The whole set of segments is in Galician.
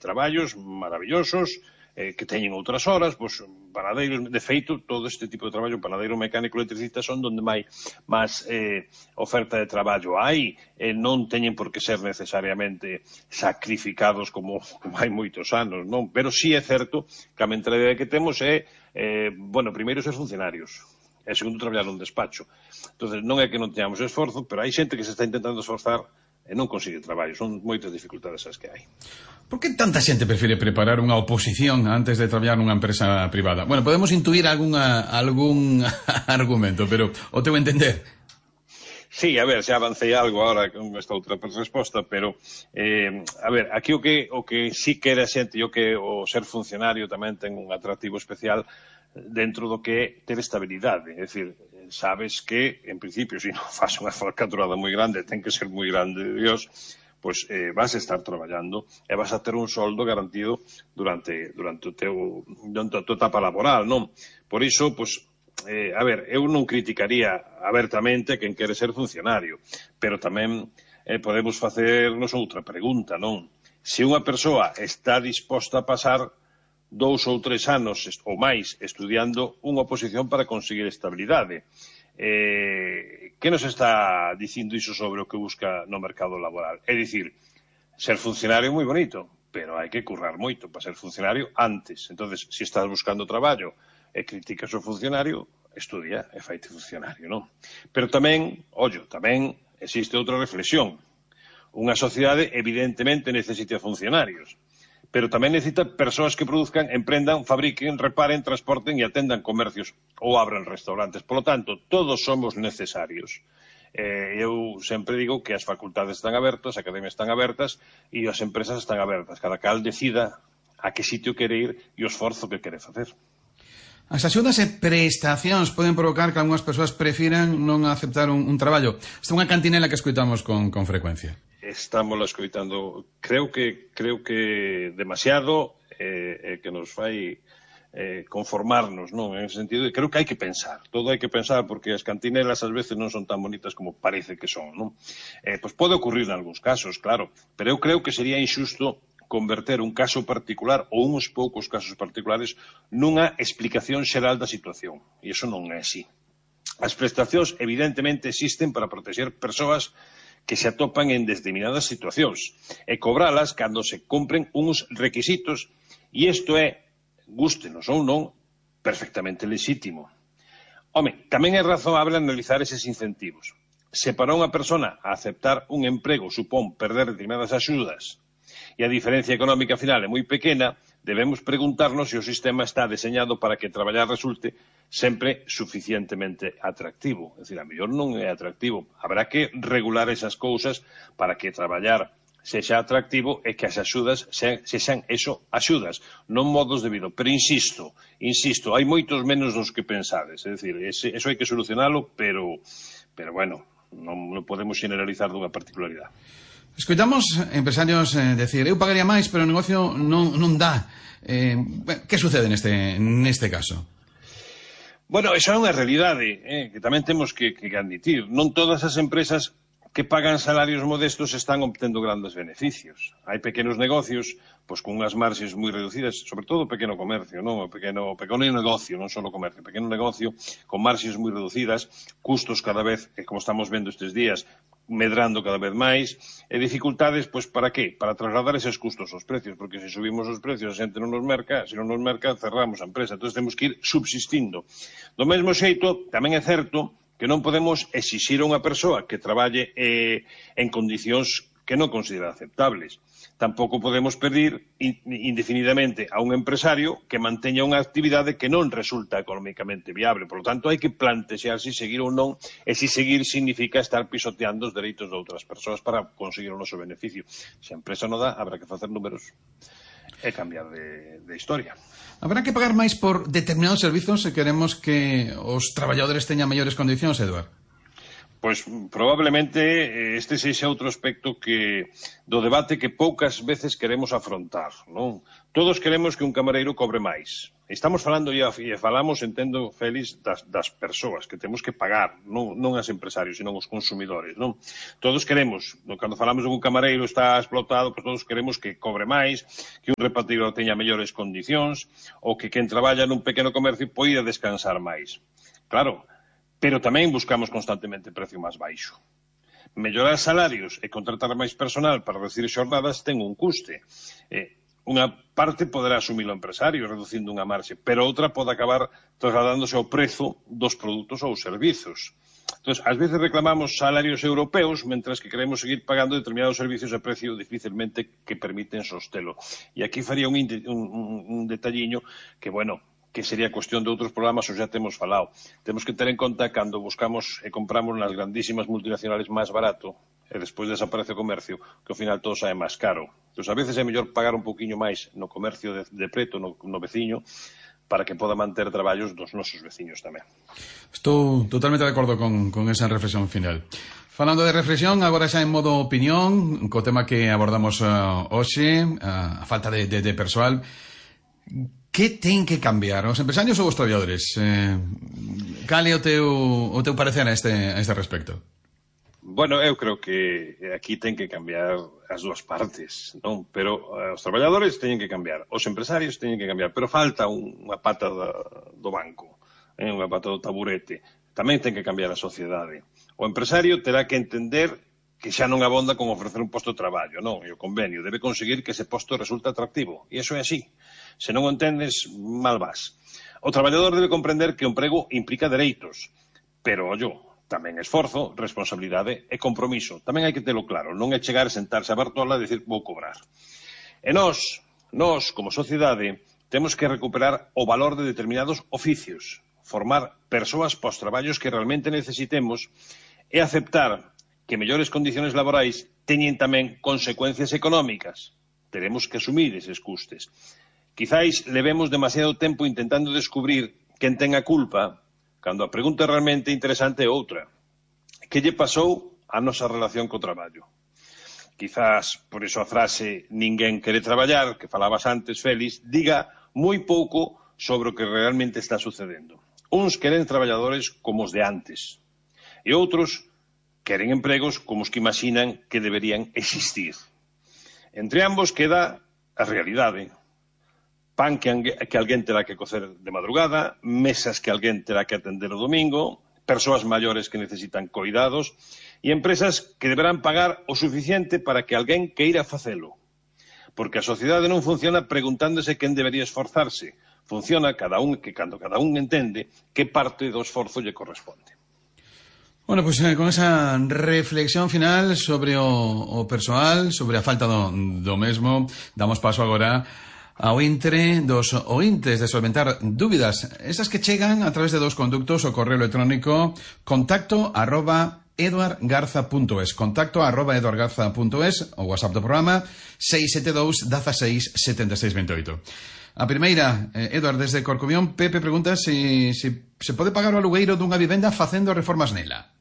traballos maravillosos, que teñen outras horas, pois, panadeiros, de feito, todo este tipo de traballo, panadeiro, mecánico, electricista, son donde máis oferta de traballo hai, non teñen por que ser necesariamente sacrificados como hai moitos anos, non? Pero sí é certo que a mentalidade que temos é, bueno, primeiro ser funcionarios, e segundo traballar nun despacho. Entonces, non é que non teñamos esforzo, pero hai xente que se está intentando esforzar e non consigue traballo. Son moitas dificultades as que hai. Por que tanta xente prefire preparar unha oposición antes de traballar nunha empresa privada? Bueno, podemos intuir algún argumento, pero o teu entender? Sí, a ver, xa avancei algo agora con esta outra resposta, pero, a ver, aquí o que sí quere a xente, o que o ser funcionario tamén ten un atractivo especial dentro do que é ter estabilidade. É dicir, sabes que, en principio, se non faz unha falcatrurada moi grande, ten que ser moi grande, Dios, pois vas a estar traballando e vas a ter un soldo garantido durante a tua etapa laboral, non? Por iso, pois, a ver, eu non criticaría abertamente quen quere ser funcionario, pero tamén podemos facernos outra pregunta, non? Se unha persoa está disposta a pasar 2 ou 3 anos ou máis estudiando unha oposición para conseguir estabilidade, que nos está dicindo iso sobre o que busca no mercado laboral? É dicir, ser funcionario é moi bonito, pero hai que currar moito para ser funcionario antes. Entonces, se estás buscando traballo e criticas o funcionario, estudia e faite funcionario, non? Pero tamén, tamén existe outra reflexión. Unha sociedade evidentemente necesita funcionarios, pero tamén necesita persoas que produzcan, emprendan, fabriquen, reparen, transporten e atendan comercios ou abran restaurantes. Por lo tanto, todos somos necesarios. Eu sempre digo que as facultades están abertas, as academias están abertas e as empresas están abertas. Cada cal decida a que sitio quere ir e o esforzo que quere facer. As axudas e prestacións poden provocar que algunhas persoas prefiran non aceptar un traballo. Esta é unha cantinela que escoitamos con frecuencia. Estamos escoitando, creo que demasiado, que nos fai conformarnos, non? En ese sentido, creo que hai que pensar, todo hai que pensar, porque as cantinelas ás veces non son tan bonitas como parece que son, non? Pois pode ocurrir en algúns casos, claro, pero eu creo que sería injusto converter un caso particular ou uns poucos casos particulares nunha explicación xeral da situación, e iso non é así. As prestacións evidentemente existen para protexer persoas que se atopan en determinadas situacións e cobralas cando se cumpren uns requisitos, e isto é, gústenos ou non, perfectamente lexítimo. Home, tamén é razoable analizar eses incentivos. Se para unha persona aceptar un emprego supón perder determinadas axudas e a diferencia económica final é moi pequena, debemos preguntarnos se o sistema está deseñado para que traballar resulte sempre suficientemente atractivo. É dicir, a mellor non é atractivo. Habrá que regular esas cousas para que traballar sexa atractivo e que as axudas sexan eso, axudas, non modos de vida. Pero insisto, hai moitos menos dos que pensades. É dicir, eso hai que solucionalo, pero bueno, non podemos generalizar dunha particularidade. Escoitamos empresarios decir, eu pagaría máis, pero o negocio non dá. Que sucede neste caso? Bueno, esa é unha realidade que tamén temos que admitir. Non todas as empresas que pagan salarios modestos están obtendo grandes beneficios. Hai pequenos negocios, pois con unhas marxes moi reducidas, sobre todo o pequeno comercio, non? O pequeno negocio, non só o comercio, o pequeno negocio con marxes moi reducidas, custos cada vez, como estamos vendo estes días, medrando cada vez máis, e dificultades, pois, para que? Para trasladar eses custos aos precios, porque se subimos os precios a xente non nos merca, se non nos merca, cerramos a empresa. Entón, temos que ir subsistindo. Do mesmo xeito, tamén é certo que non podemos exixir a unha persoa que traballe en condicións que non considera aceptables. Tampouco podemos pedir indefinidamente a un empresario que manteña unha actividade que non resulta económicamente viable. Por lo tanto, hai que plantexar se seguir ou non, e se seguir significa estar pisoteando os dereitos de outras persoas para conseguir o noso beneficio. Se a empresa non dá, habrá que facer números e cambiar de historia. Habrá que pagar máis por determinados servizos se queremos que os traballadores teñan mellores condicións, Eduard? Pois probablemente este sexa outro aspecto do debate que poucas veces queremos afrontar, non? Todos queremos que un camareiro cobre máis. Estamos falando, e falamos, entendo, Félix, das persoas que temos que pagar, non as empresarios, senón os consumidores, non? Todos queremos, cando falamos de un camareiro está explotado, pois todos queremos que cobre máis, que un repartidor teña mellores condicións, ou que quen traballa nun pequeno comercio poida descansar máis. Claro, pero tamén buscamos constantemente precio máis baixo. Mellorar salarios e contratar máis personal para reducir xornadas ten un custe. Unha parte poderá asumir o empresario reducindo unha marxe, pero outra pode acabar trasladándose ao prezo dos produtos ou servizos. Entón, ás veces reclamamos salarios europeos, mentras que queremos seguir pagando determinados servicios a precio dificilmente que permiten sostelo. E aquí faría un detalliño que, bueno, que sería cuestión de outros programas, ou xa temos falado. Temos que ter en conta cando buscamos e compramos nas grandísimas multinacionales máis barato, e despois desaparece o comercio, que ao final todo sae máis caro. Entón, a veces é mellor pagar un poquinho máis no comercio de preto, no veciño, para que poda manter traballos dos nosos veciños tamén. Estou totalmente de acordo con esa reflexión final. Falando de reflexión, agora xa en modo opinión, co tema que abordamos hoxe, a falta de persoal. Que ten que cambiar, os empresarios ou os traballadores? Cal é o teu parecer a este respecto? Bueno, eu creo que aquí ten que cambiar as dúas partes, non? Pero os traballadores teñen que cambiar, os empresarios teñen que cambiar, pero falta unha pata do banco, unha pata do taburete. Tamén ten que cambiar a sociedade. O empresario terá que entender que xa non abonda con ofrecer un posto de traballo, non? E o convenio debe conseguir que ese posto resulte atractivo. E iso é así. Se non o entendes, mal vas. O traballador debe comprender que o emprego implica dereitos, pero, ollo, tamén esforzo, responsabilidade e compromiso. Tamén hai que telo claro, non é chegar a sentarse a Bartola e dicir vou cobrar. E nós, como sociedade, temos que recuperar o valor de determinados oficios, formar persoas pos traballos que realmente necesitemos e aceptar que mellores condiciones laborais teñen tamén consecuencias económicas. Teremos que asumir eses custes. Quizáis levemos demasiado tempo intentando descubrir quen ten a culpa, cando a pregunta realmente interesante é outra. Que lle pasou a nosa relación co traballo? Quizás, por iso a frase ninguén quere traballar, que falabas antes, Félix, diga moi pouco sobre o que realmente está sucedendo. Uns queren traballadores como os de antes, e outros queren empregos como os que imaginan que deberían existir. Entre ambos queda a realidade. Pan que alguén terá que cocer de madrugada, mesas que alguén terá que atender o domingo, persoas maiores que necesitan cuidados e empresas que deberán pagar o suficiente para que alguén queira facelo. Porque a sociedade non funciona preguntándose quen debería esforzarse. Funciona cando cada un entende que parte do esforzo lle corresponde. Bueno, pues con esa reflexión final sobre o persoal, sobre a falta do mesmo, damos paso agora ao intre dos ointes de solventar dúbidas, esas que chegan a través de dos conductos, o correo electrónico contacto@eduardgarza.es, contacto@eduardgarza.es, o WhatsApp do programa 672 16 76 28. A primeira, Eduard, desde Corcobión, Pepe pregunta se pode pagar o alugueiro dunha vivenda facendo reformas nela.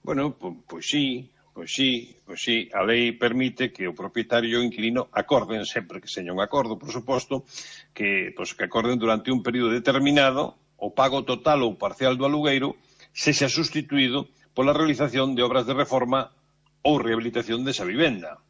Bueno, pois sí. A lei permite que o propietario e o inquilino acorden, sempre que seña un acordo, por suposto, que acorden durante un período determinado o pago total ou parcial do alugueiro sexa sustituído pola realización de obras de reforma ou rehabilitación desa vivenda.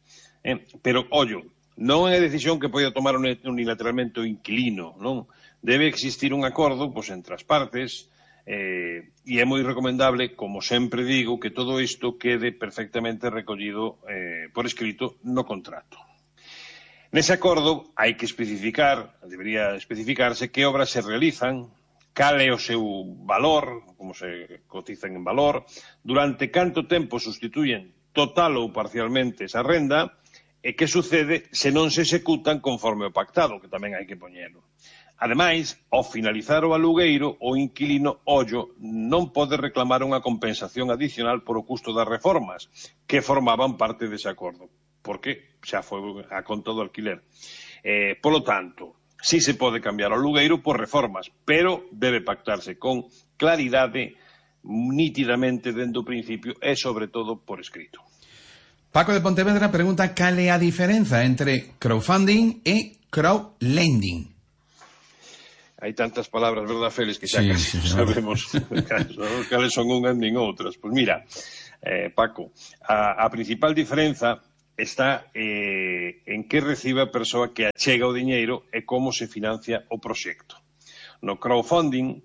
Pero, ollo, non é decisión que poida tomar unilateralmente o inquilino, non? Debe existir un acordo entre as partes. E é moi recomendable, como sempre digo, que todo isto quede perfectamente recollido por escrito no contrato. Nese acordo debería especificarse que obras se realizan, cal é o seu valor, como se cotizan en valor, durante canto tempo sustituyen total ou parcialmente esa renda e que sucede se non se executan conforme o pactado, que tamén hai que poñelo. Ademais, ao finalizar o alugueiro, o inquilino, non pode reclamar unha compensación adicional por o custo das reformas que formaban parte dese acordo, porque xa foi a conta do alquiler. Polo tanto, sí se pode cambiar o alugueiro por reformas, pero debe pactarse con claridade, nítidamente dentro do principio e, sobre todo, por escrito. Paco de Pontevedra pregunta cal é a diferenza entre crowdfunding e crowdlending. hai tantas palabras, verdad, Félix, que xa Sí, casi sabemos cales son unhas nin outras. Pois mira, Paco, a principal diferenza está en que recibe a persoa que achega o diñeiro e como se financia o proxecto. No crowdfunding,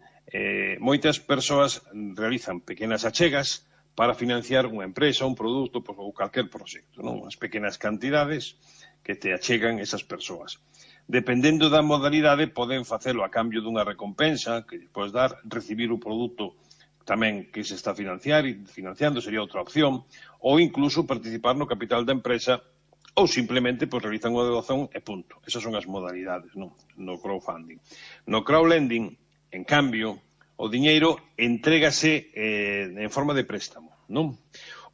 moitas persoas realizan pequenas achegas para financiar unha empresa, un produto ou calquer proxecto, non? As pequenas cantidades que te achegan esas persoas. Dependendo da modalidade, poden facelo a cambio dunha recompensa que lle podes dar, recibir o produto tamén que se está financiando, sería outra opción, ou incluso participar no capital da empresa, ou simplemente realizan unha doación e punto. Esas son as modalidades, non? No crowdfunding. No crowdlending, en cambio, o diñeiro entrégase en forma de préstamo, non?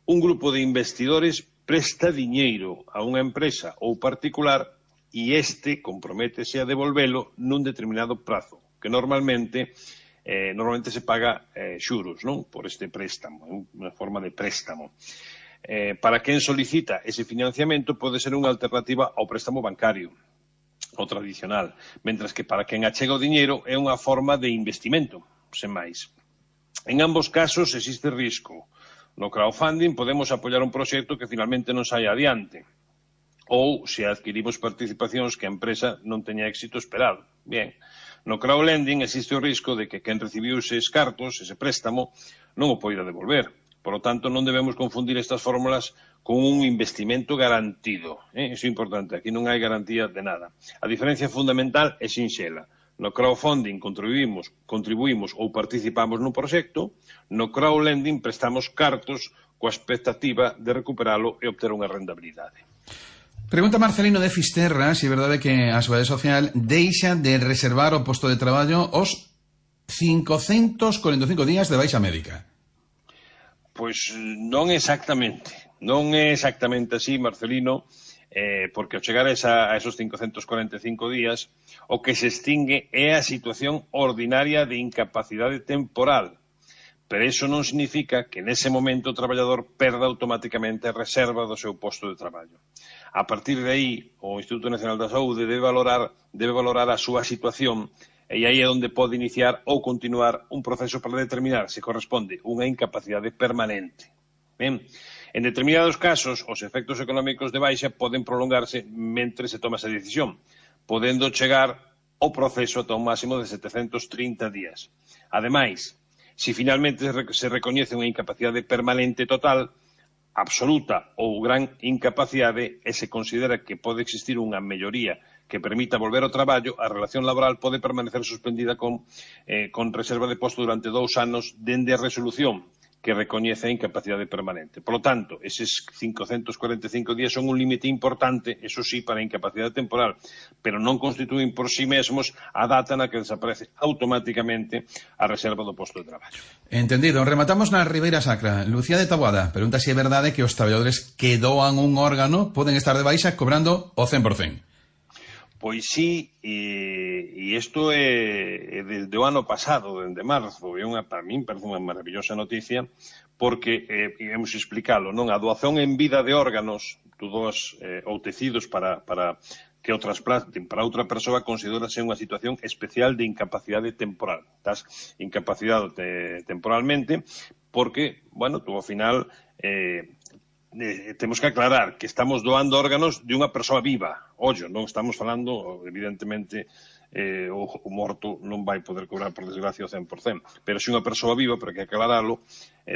Un grupo de investidores presta diñeiro a unha empresa ou particular e este comprométese a devolvelo nun determinado prazo, que normalmente se paga xuros, non? Por este préstamo, unha forma de préstamo. Para quen solicita ese financiamento pode ser unha alternativa ao préstamo bancario, o tradicional, mentras que para quen achega o diñeiro é unha forma de investimento, sen máis. En ambos casos existe risco. No crowdfunding podemos apoiar un proxecto que finalmente non saia adiante, ou se adquirimos participacións que a empresa non teña éxito esperado. Bien, no crowdlending existe o risco de que quen recibiu eses cartos, ese préstamo, non o poida devolver. Por lo tanto, non debemos confundir estas fórmulas con un investimento garantido. Iso é importante, aquí non hai garantía de nada. A diferencia fundamental é sinxela. No crowdfunding contribuímos ou participamos nun proxecto, no crowdlending prestamos cartos coa expectativa de recuperalo e obter unha rentabilidade. Pregunta Marcelino de Fisterra se é verdade que a Seguridade Social deixa de reservar o posto de traballo os 545 días de baixa médica. Pois non exactamente. Non é exactamente así, Marcelino, porque ao chegar a esos 545 días, o que se extingue é a situación ordinaria de incapacidade temporal. Pero iso non significa que nese momento o traballador perda automáticamente a reserva do seu posto de traballo. A partir de aí, o Instituto Nacional da Saúde debe valorar a súa situación e aí é onde pode iniciar ou continuar un proceso para determinar se corresponde unha incapacidade permanente. Ben, en determinados casos, os efectos económicos de baixa poden prolongarse mentre se toma esa decisión, podendo chegar o proceso ata un máximo de 730 días. Ademais, se finalmente se recoñece unha incapacidade permanente total, absoluta ou gran incapacidade e se considera que pode existir unha melloría que permita volver ao traballo, a relación laboral pode permanecer suspendida con reserva de posto durante 2 anos dende a resolución que recoñece a incapacidade permanente. Por lo tanto, eses 545 días son un límite importante, eso sí, para a incapacidade temporal, pero non constituen por sí mesmos a data na que desaparece automáticamente a reserva do posto de traballo. Entendido. Rematamos na Ribeira Sacra. Lucía de Taboada pregunta se é verdade que os traballadores que doan un órgano poden estar de baixa cobrando o 100%. Pois sí, e isto é desde o ano pasado, desde marzo, para min parece unha maravillosa noticia, porque, íamos explicalo, non? A doación en vida de órganos, tú doas ou tecidos para que o trasplante para outra persoa considerase unha situación especial de incapacidade temporal. Estás incapacitado temporalmente porque, bueno, tú ao final temos que aclarar que estamos doando órganos de unha persoa viva. Ollo, non estamos falando, evidentemente, o morto non vai poder cobrar, por desgracia, o 100%. Pero se unha persoa viva, pero que aclararlo,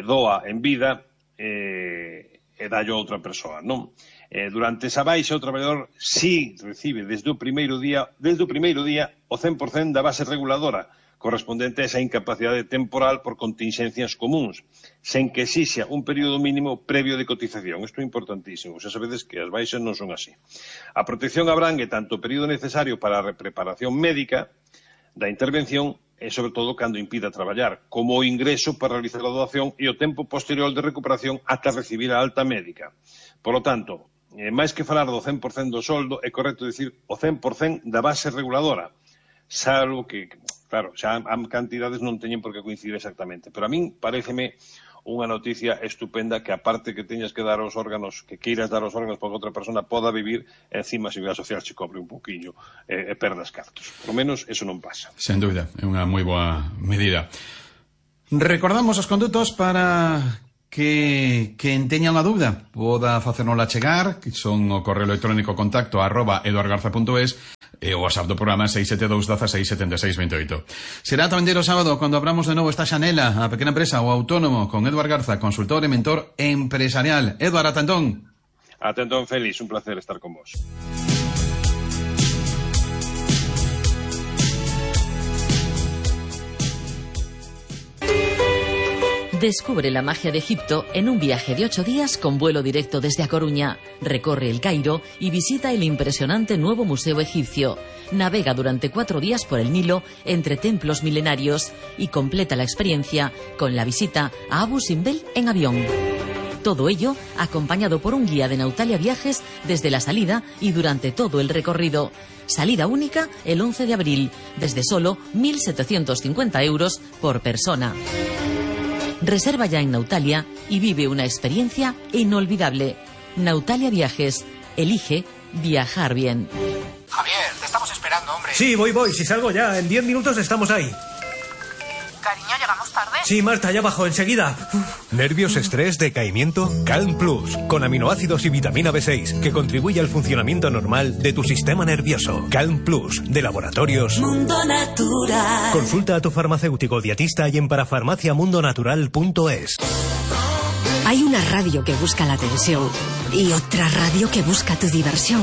doa en vida e dallo a outra persoa, non? Durante esa baixa, o traballador sí recibe desde o primeiro día o 100% da base reguladora, correspondente a esa incapacidade temporal por contingencias comuns, sen que exixa un período mínimo previo de cotización. Isto é importantísimo, xa sabedes que as baixas non son así. A protección abrangue tanto o período necesario para a preparación médica da intervención e, sobre todo, cando impida traballar, como o ingreso para realizar a doación e o tempo posterior de recuperación ata recibir a alta médica. Por lo tanto, máis que falar do 100% do soldo, é correcto dicir o 100% da base reguladora, salvo que, claro, xa as cantidades non teñen por que coincidir exactamente, pero a min paréceme unha noticia estupenda que aparte que teñas que dar os órganos, que queiras dar os órganos para que outra persona poda vivir, encima a Seguridade Social se cobre un pouquiño e perdas cartos. Por lo menos eso non pasa. Sen dúbida, é unha moi boa medida. Recordamos os condutos para que quen teña unha dúbida poda facernola chegar, que son o correo electrónico contacto @eduardgarza.es e o WhatsApp do programa 672 16 76 28. Será tamén o sábado cando abramos de novo esta xanela a pequena empresa ou autónomo con Eduard Garza, consultor e mentor empresarial. Eduard, ata entón. Ata entón, Félix, un placer estar con vos. Descubre la magia de Egipto en un viaje de 8 días con vuelo directo desde A Coruña. Recorre el Cairo y visita el impresionante nuevo museo egipcio. Navega durante 4 días por el Nilo entre templos milenarios y completa la experiencia con la visita a Abu Simbel en avión. Todo ello acompañado por un guía de Nautalia Viajes desde la salida y durante todo el recorrido. Salida única el 11 de abril, desde solo 1.750 euros por persona. Reserva ya en Nautalia y vive una experiencia inolvidable. Nautalia Viajes. Elige viajar bien. Javier, te estamos esperando, hombre. Sí, voy. Si salgo ya, en 10 minutos estamos ahí. Cariño, ¿llegamos tarde? Sí, Marta, ya bajo, enseguida. ¿Nervios, estrés, decaimiento? Calm Plus, con aminoácidos y vitamina B6, que contribuye al funcionamiento normal de tu sistema nervioso. Calm Plus, de Laboratorios Mundo Natural. Consulta a tu farmacéutico dietista y en parafarmaciamundonatural.es. Hay una radio que busca la atención y otra radio que busca tu diversión.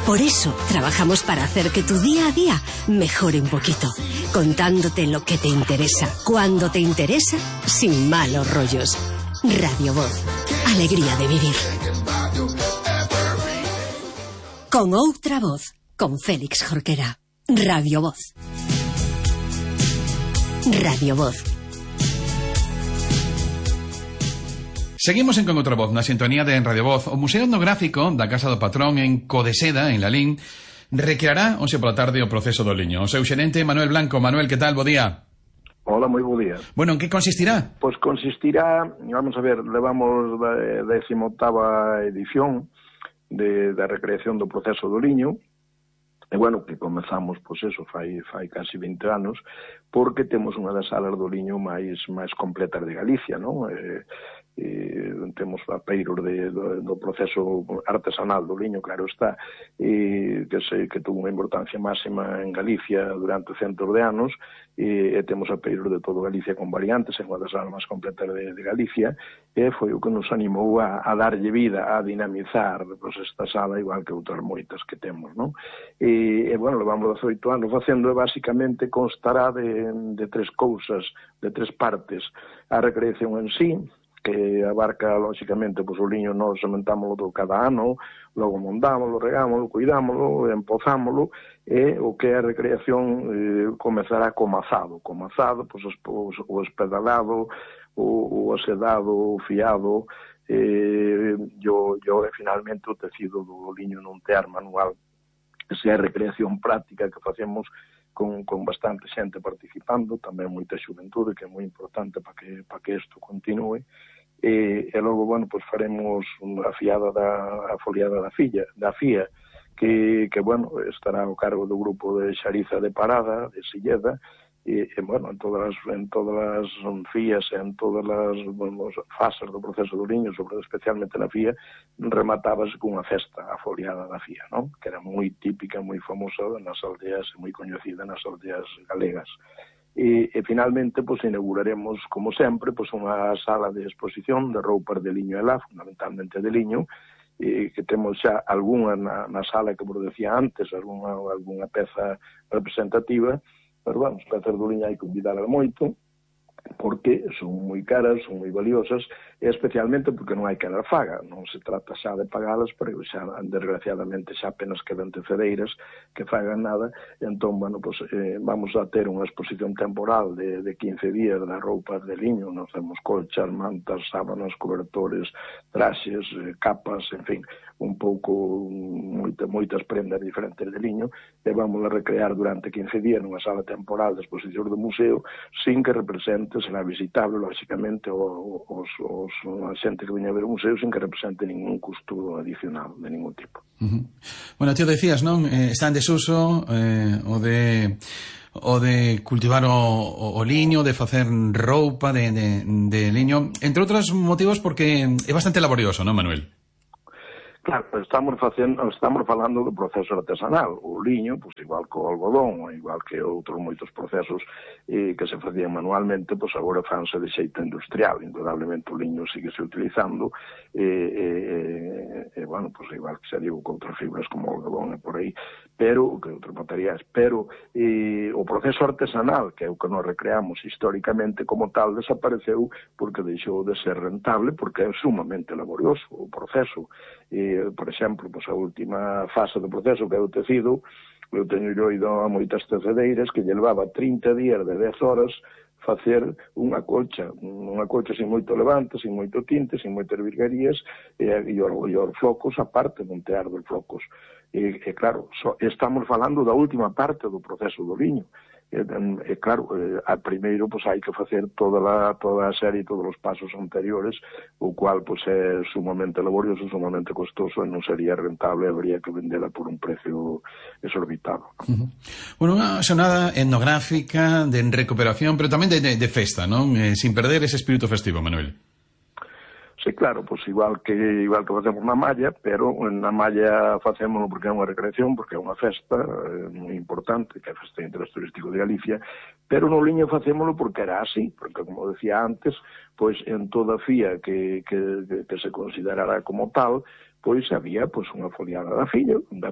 Por eso trabajamos para hacer que tu día a día mejore un poquito, contándote lo que te interesa, cuando te interesa, sin malos rollos. Radio Voz, alegría de vivir. Con outra voz, con Félix Jorquera. Radio Voz. Radio Voz. Seguimos en Con outra voz, na sintonía de Radio Voz. O Museo Etnográfico da Casa do Patrón en Codeseda, en Lalín, recreará hoxe pola tarde o proceso do liño. O seu xerente, Manuel Blanco. Manuel, que tal? Bo día. Hola, moi bo día. Bueno, en que consistirá? Pois consistirá, vamos a ver, levamos da 18ª edición da recreación do proceso do liño, e bueno, que comezamos, pois eso, fai casi 20 anos, porque temos unha das salas do liño máis completas de Galicia, non? Temos apeiros do proceso artesanal do liño, claro está, que tuvo unha importancia máxima en Galicia durante centos de anos, e temos apeiros de todo Galicia con variantes, en unha das salas máis completas de Galicia, e foi o que nos animou a darlle vida, a dinamizar pues, esta sala, igual que outras moitas que temos, non? E bueno, levamos 18 anos facendo, e basicamente constará de tres cousas, de tres partes: a recreación en sí, que abarca, lóxicamente, pois o liño nos sementámoslo cada ano, logo mondámoslo, regámoslo, cuidámoslo, empozámoslo, e o que é a recreación comezará co mazado. Co mazado, pois o espedalado, o asedado, o fiado, e finalmente o tecido do liño nun tear manual. Esa é a recreación práctica que facemos con bastante xente participando, tamén moita xuventude, que é moi importante para que isto continue. E logo, bueno, pues faremos a fiada a foliada da FIA, que bueno, estará ao cargo do grupo de Xariza de Parada, de Silleda, e bueno, en todas as FIAs, en todas as fases do proceso do liño, especialmente na FIA, rematábase cunha festa, a foliada da FIA, non? Que era moi típica, moi famosa nas aldeas, moi coñecida nas aldeas galegas. E finalmente, pues, inauguraremos, como sempre, pues, unha sala de exposición de roupas de liño e lá, fundamentalmente de liño, que temos xa algunha na sala que vos decía antes, algunha peza representativa, pero, bueno, as pezas do liño hai que cuidalas moito, porque son moi caras, son moi valiosas, e especialmente porque non hai que dar faga, non se trata xa de pagalas, pero xa, desgraciadamente, xa apenas quedan tecedeiras que fagan nada, e entón, bueno, pues, vamos a ter unha exposición temporal de 15 días das roupas de liño, nos temos colchas, mantas, sábanas, cobertores, traxes, capas, en fin, un pouco, moitas prendas diferentes de liño, e vamos a recrear durante 15 días nunha sala temporal de exposición do museo, sin que represente xente será visitable, lógicamente, a xente que veña a ver o museo sin que represente ningún custo adicional de ningún tipo. Bueno, tío, decías, non? Está en desuso o de cultivar o liño, de facer roupa de liño, entre outros motivos porque é bastante laborioso, non, Manuel? Claro, estamos falando do proceso artesanal. O liño, pois igual que o algodón, igual que outros moitos procesos que se facían manualmente, pois agora fanse de xeito industrial. Indudablemente o liño síguese utilizando bueno, pois igual que se digo con outras fibras como o algodón e por aí, pero que outros materiais, pero o proceso artesanal, que é o que nos recreamos históricamente como tal, desapareceu porque deixou de ser rentable, porque é sumamente laborioso o proceso. Por exemplo, pois a última fase do proceso, que é o tecido, eu teño ido a moitas tecedeiras que lle levaba 30 días de 10 horas facer unha colcha sin moito levante, sin moito tinte, sin moitas virguerías, e os flocos, a parte de montear dos flocos. E claro, estamos falando da última parte do proceso do liño. Claro, primeiro pois hai que facer toda a serie, todos os pasos anteriores, o cual pois é sumamente laborioso, sumamente costoso, e non sería rentable, habría que vendela por un precio exorbitado. Bueno, unha xornada etnográfica de recuperación, pero tamén de festa, non? Sin perder ese espírito festivo, Manuel. Sí, claro, pois igual que facemos na malla, pero na malla facémoslo porque é unha recreación, porque é unha festa moi importante, que é a Festa de Interés Turístico de Galicia, pero no liño facémoslo porque era así, porque, como decía antes, pois en toda fía que se considerara como tal, pois había pois unha foliada da fía, onde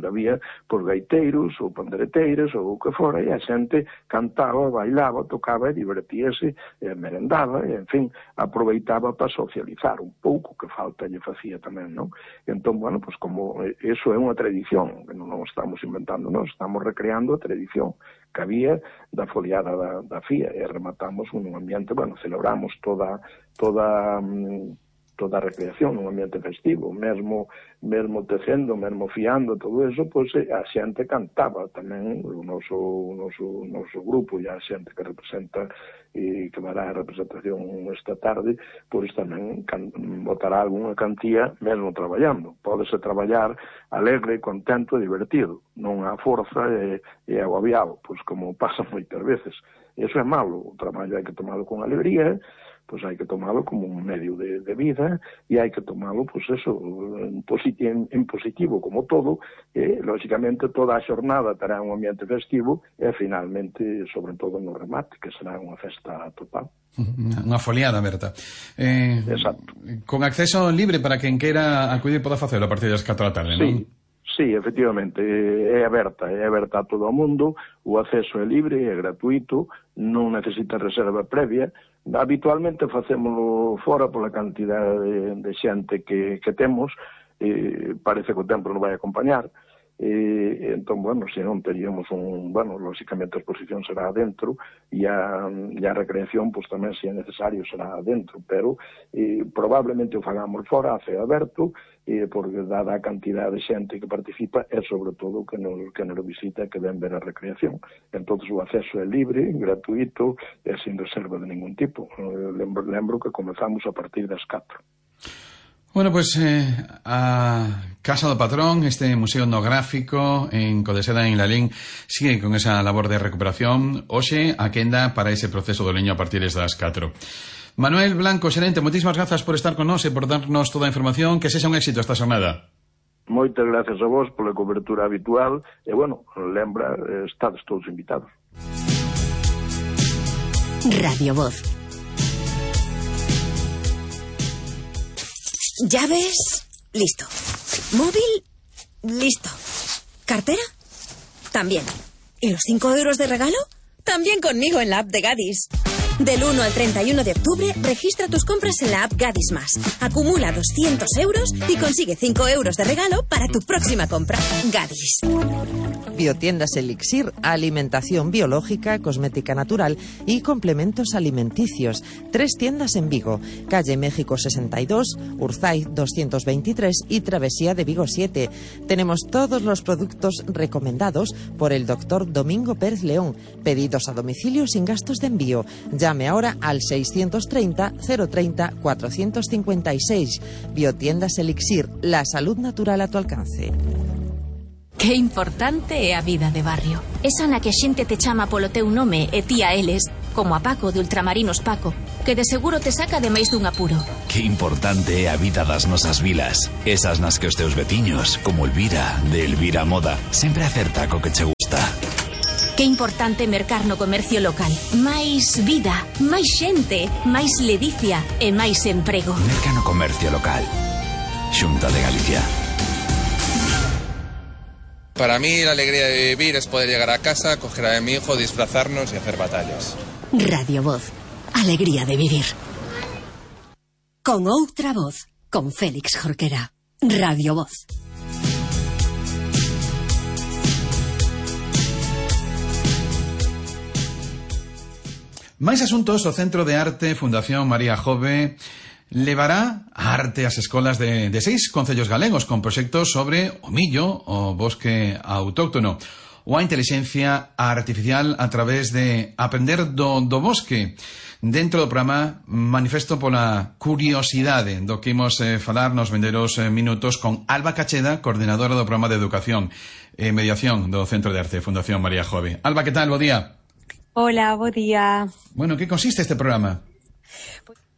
había pois gaiteiros ou pandereteiras ou o que fora, e a xente cantaba, bailaba, tocaba e divertíase, e merendaba, e, en fin, aproveitaba para socializar un pouco, que falta lle facía tamén, non? Entón, bueno, pois como eso é unha tradición, que non estamos inventando, non, estamos recreando a tradición que había da foliada da fía, e rematamos un ambiente, bueno, celebramos toda a recreación nun ambiente festivo, mesmo tecendo, mesmo fiando, todo eso, pois a xente cantaba tamén, o noso grupo e a xente que representa e que dará a representación esta tarde, pois tamén botará algunha cantía mesmo traballando. Pódese traballar alegre, contento e divertido, non a forza e agobiado, pois como pasa moitas veces. Eso é malo, o traballo hai que tomalo con alegría, pois hai que tomalo como un medio de vida e hai que tomalo, pois eso, en positivo como todo, e, lógicamente, toda a xornada terá un ambiente festivo e, finalmente, sobre todo no remate, que será unha festa total. Unha foliada, Berta. Exacto. Con acceso libre para quen queira acudir poda facelo a partir das 4 da tarde, non? Sí, efectivamente, é aberta a todo o mundo, o acceso é libre, é gratuito, non necesita reserva previa. Habitualmente facémolo fora pola cantidade de xente que temos, parece que o tempo non vai acompañar, entón, bueno, se non teríamos lógicamente a exposición será adentro e a recreación, pois tamén, se é necesario, será adentro, pero probablemente o fagamos fora, a ceo aberto, porque dada a cantidad de xente que participa e, sobre todo, que nos visita, que ven ver a recreación. Entón, o acceso é libre, gratuito e sin reserva de ningún tipo. Lembro que comezamos a partir das 4. Bueno, pues a Casa do Patrón, este museo etnográfico en Codeseda, en Lalín, sigue con esa labor de recuperación. Hoxe, a quenda para ese proceso do leño a partir das 4. Manuel Blanco, xerente, moitísimas grazas por estar con nós e por darnos toda a información. Que sexa un éxito esta xornada. Moitas gracias a vos pola cobertura habitual e, bueno, lembra, estades todos invitados. Radio Voz. ¿Llaves? Listo. ¿Móvil? Listo. ¿Cartera? También. ¿Y los 5 euros de regalo? También conmigo en la app de Gadis. Del 1 al 31 de octubre, registra tus compras en la app Gadis Más. Acumula 200 euros y consigue 5 euros de regalo para tu próxima compra. Gadis. Biotiendas Elixir, alimentación biológica, cosmética natural y complementos alimenticios. 3 tiendas en Vigo, calle México 62, Urzaiz 223 y Travesía de Vigo 7. Tenemos todos los productos recomendados por el doctor Domingo Pérez León. Pedidos a domicilio sin gastos de envío. Llame ahora al 630 030 456. Biotiendas Elixir, la salud natural a tu alcance. Que importante é a vida de barrio. Esa na que a xente te chama polo teu nome e ti a eles, como a Paco de Ultramarinos Paco, que de seguro te saca de máis dun apuro. Que importante é a vida das nosas vilas. Esas nas que os teus veciños, como Elvira, de Elvira Moda, sempre acerta co que che gusta. Que importante mercar no comercio local. Máis vida, máis xente, máis ledicia e máis emprego. Merca no comercio local. Xunta de Galicia. Para mí la alegría de vivir es poder llegar a casa, coger a mi hijo, disfrazarnos y hacer batallas. Radio Voz. Alegría de vivir. Con outra voz. Con Félix Jorquera. Radio Voz. Máis asuntos, o Centro de Arte Fundación María Jove levará a arte ás escolas de 6 concellos galegos con proxectos sobre o millo, o bosque autóctono, ou a inteligencia artificial a través de aprender do bosque. Dentro do programa Manifesto pola Curiosidade, do que imos falar nos vindeiros minutos con Alba Cacheda, coordinadora do programa de Educación e Mediación do Centro de Arte Fundación María Jove. Alba, que tal? Bo día. Hola, bo día. Bueno, que consiste este programa?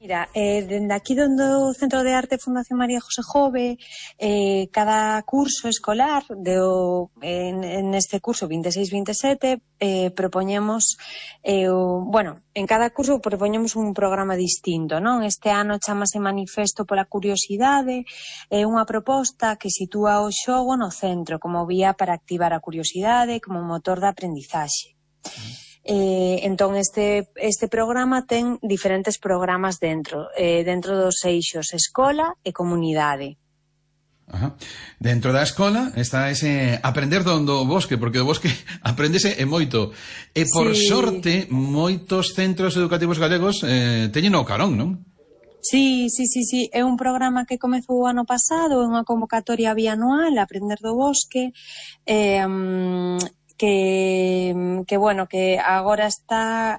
Mira, dende aquí do Centro de Arte Fundación María José Jove, cada curso escolar, en este curso 26-27, propoñemos, en cada curso propoñemos un programa distinto, non? Este ano chamase Manifesto pola Curiosidade, é unha proposta que sitúa o xogo no centro como vía para activar a curiosidade como motor de aprendizaxe. Entón este programa ten diferentes programas dentro dos eixos escola e comunidade. Ajá. Dentro da escola está ese aprender do bosque, porque do bosque aprendese e moito. E por sorte, moitos centros educativos galegos teñen o carón, non? Sí, é un programa que comezou o ano pasado, é unha convocatoria bianual, Aprender do Bosque, que agora está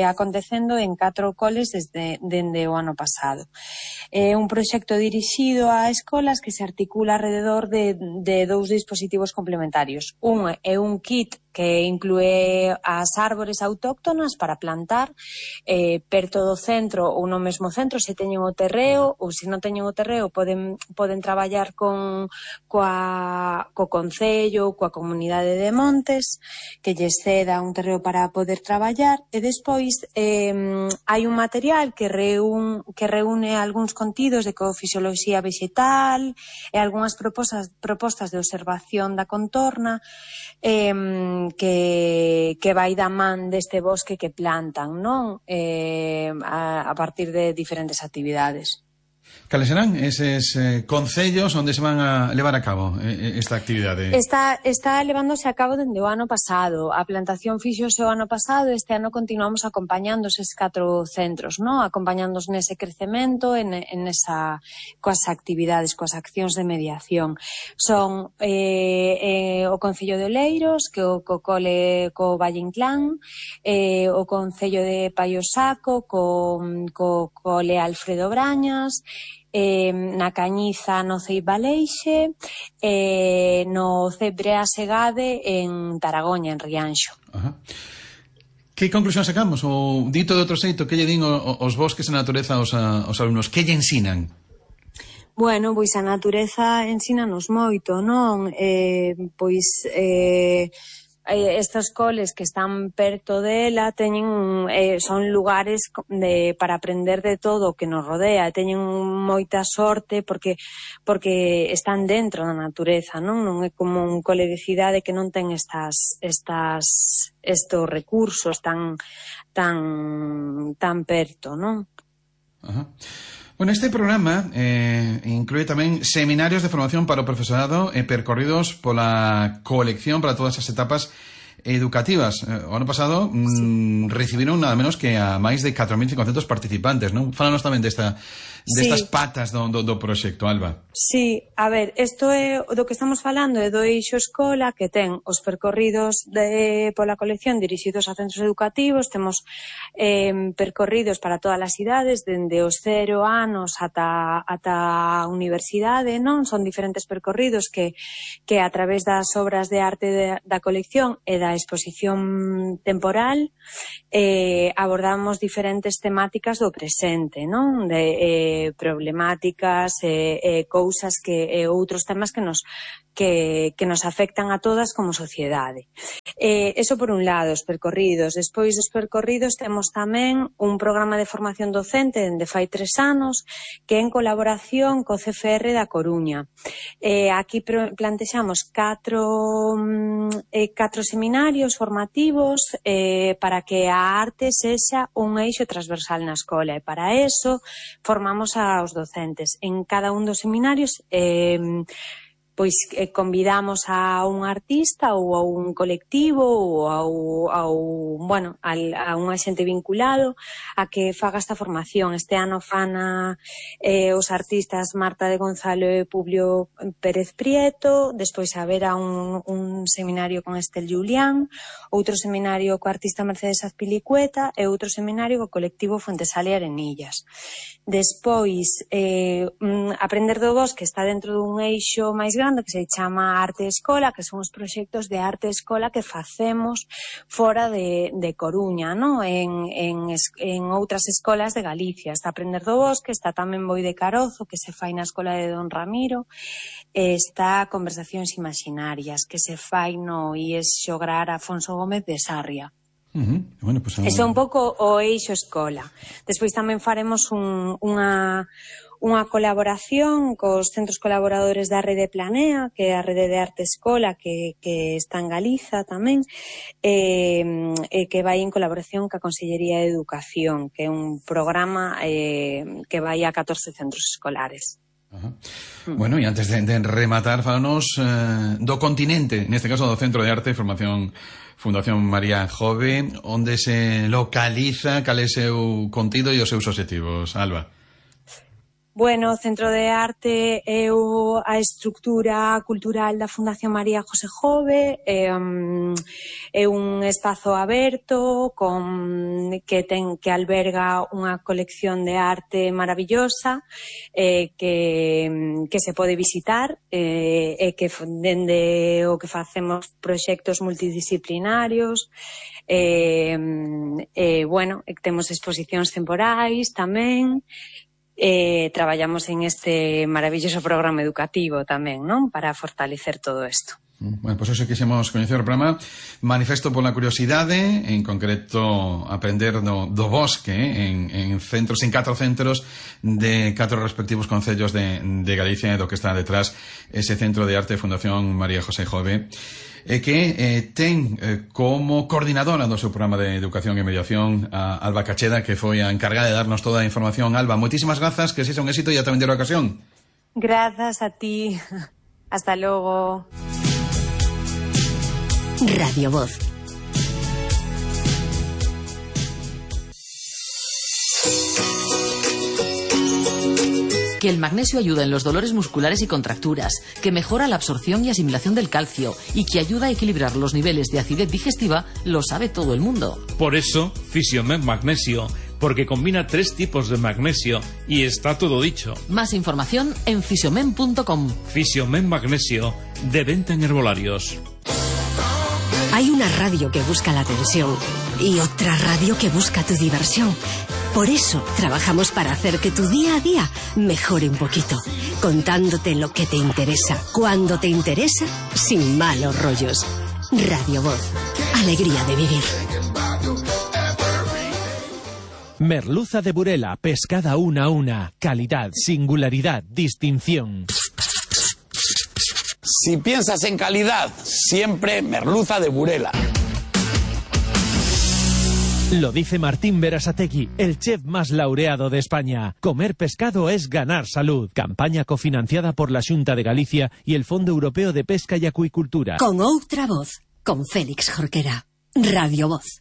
acontecendo en 4 coles dende o ano pasado. É un proxecto dirixido a escolas que se articula alrededor de 2 dispositivos complementarios. Un é un kit que inclúe as árbores autóctonas para plantar perto do centro ou no mesmo centro se teñen o terreo, ou se non teñen o terreo poden traballar co concello, coa comunidade de montes que lles ceda un terreo para poder traballar, e despois hai un material que reúne algúns contidos de ecofisioloxía vegetal e algunhas propostas de observación da contorna que vai da man deste bosque que plantan, non? A partir de diferentes actividades. Cales serán eses concellos onde se van a levar a cabo esta actividade? Está levándose a cabo dende o ano pasado. A plantación fixose o ano pasado, este ano continuamos acompañando eses 4 centros, non? Acompañándoos nese crecemento, coas actividades, coas accións de mediación. Son o Concello de Oleiros, que o cole co Valle Inclán, o Concello de Paiosaco, co cole Alfredo Brañas, na Cañiza no Ceibaleixe, no Cebrea Segade en Taragoña, en Rianxo. Ajá. Que conclusión sacamos? O dito de outro xeito, que lle din os bosques e a natureza aos alumnos? Que lle ensinan? Bueno, pois a natureza ensínanos moito, non? Estes coles que están perto dela son lugares para aprender de todo o que nos rodea, teñen moita sorte porque están dentro da natureza, non é como un cole de cidade que non ten estes recursos tan perto, non? Ajá. Bueno, este programa inclúe tamén seminarios de formación para o profesorado e percorridos pola colección para todas as etapas educativas. O ano pasado recibiron nada menos que a máis de 4.500 participantes, non? Fálanos tamén destas patas do proxecto, Alba. Sí, a ver, isto é do que estamos falando, é do eixo escola, que ten os percorridos pola colección dirixidos a centros educativos. Temos percorridos para todas as idades, dende os 0 anos ata a universidade, non? Son diferentes percorridos que a través das obras de arte da colección e da exposición temporal abordamos diferentes temáticas do presente, non? De problemáticas, cousas que outros temas que nos afectan a todas como sociedade. Eso por un lado, os percorridos. Despois dos percorridos temos tamén un programa de formación docente dende fai 3 anos que é en colaboración co CFR da Coruña. Aquí plantexamos 4 seminarios formativos para que a arte sexa un eixo transversal na escola, e para eso formamos aos docentes. En cada un dos seminarios pois convidamos a un artista ou a un colectivo ou a un axente vinculado a que faga esta formación. Este ano fan os artistas Marta de Gonzalo e Publio Pérez Prieto, despois haberá un seminario con Estel Julián, outro seminario co artista Mercedes Azpilicueta e outro seminario co colectivo Fuentesale Arenillas. Despois, Aprender do Bosque está dentro dun eixo máis grande que se chama Arte Escola, que son os proxectos de arte escola que facemos fora de Coruña, non? En outras escolas de Galicia. Está Aprender do Bosque, está tamén Boi de Carozo, que se fai na escola de Don Ramiro, está Conversacións Imaginarias, que se fai no IES Xograr Afonso Gómez de Sarria. Bueno, pues, Eso é un pouco o eixo escola. Despois tamén faremos unha colaboración cos centros colaboradores da Rede Planea, que é a Rede de Arte Escola, que está en Galiza tamén, que vai en colaboración ca Consellería de Educación, que é un programa que vai a 14 centros escolares. Bueno, e antes de rematar, falanos do continente, neste caso do Centro de Arte e Formación Fundación María Jove, onde se localiza, cal é o seu contido e os seus obxectivos, Alba? Bueno, o Centro de Arte é a estructura cultural da Fundación María José Jove, é un espazo aberto que alberga unha colección de arte maravillosa que se pode visitar e que dende o que facemos proxectos multidisciplinarios temos exposicións temporais tamén. Traballamos en este maravilloso programa educativo tamén, non? Para fortalecer todo isto. Bueno, pois hoxe quixemos coñecer o programa Manifesto pola Curiosidade, en concreto aprender do bosque en 4 centros de 4 respectivos concellos de Galicia, e do que está detrás ese Centro de Arte Fundación María José Jove, que ten como coordinadora do seu programa de educación e mediación a Alba Cacheda, que foi a encargada de darnos toda a información. Alba, moitísimas grazas, que sexa un éxito e ata vendera ocasión. Grazas a ti. Hasta logo. Radio Voz. Que el magnesio ayuda en los dolores musculares y contracturas, que mejora la absorción y asimilación del calcio y que ayuda a equilibrar los niveles de acidez digestiva, lo sabe todo el mundo. Por eso, Fisiomen Magnesio, porque combina 3 tipos de magnesio y está todo dicho. Más información en fisiomen.com. Fisiomen Magnesio, de venta en herbolarios. Hay una radio que busca la atención y otra radio que busca tu diversión. Por eso trabajamos para hacer que tu día a día mejore un poquito, contándote lo que te interesa, cuando te interesa, sin malos rollos. Radio Voz, alegría de vivir. Merluza de Burela, pescada una a una, calidad, singularidad, distinción. Si piensas en calidad, siempre merluza de Burela. Lo dice Martín Berasategui, el chef más laureado de España. Comer pescado es ganar salud. Campaña cofinanciada por la Xunta de Galicia y el Fondo Europeo de Pesca y Acuicultura. Con outra voz. con Félix Jorquera. Radio Voz.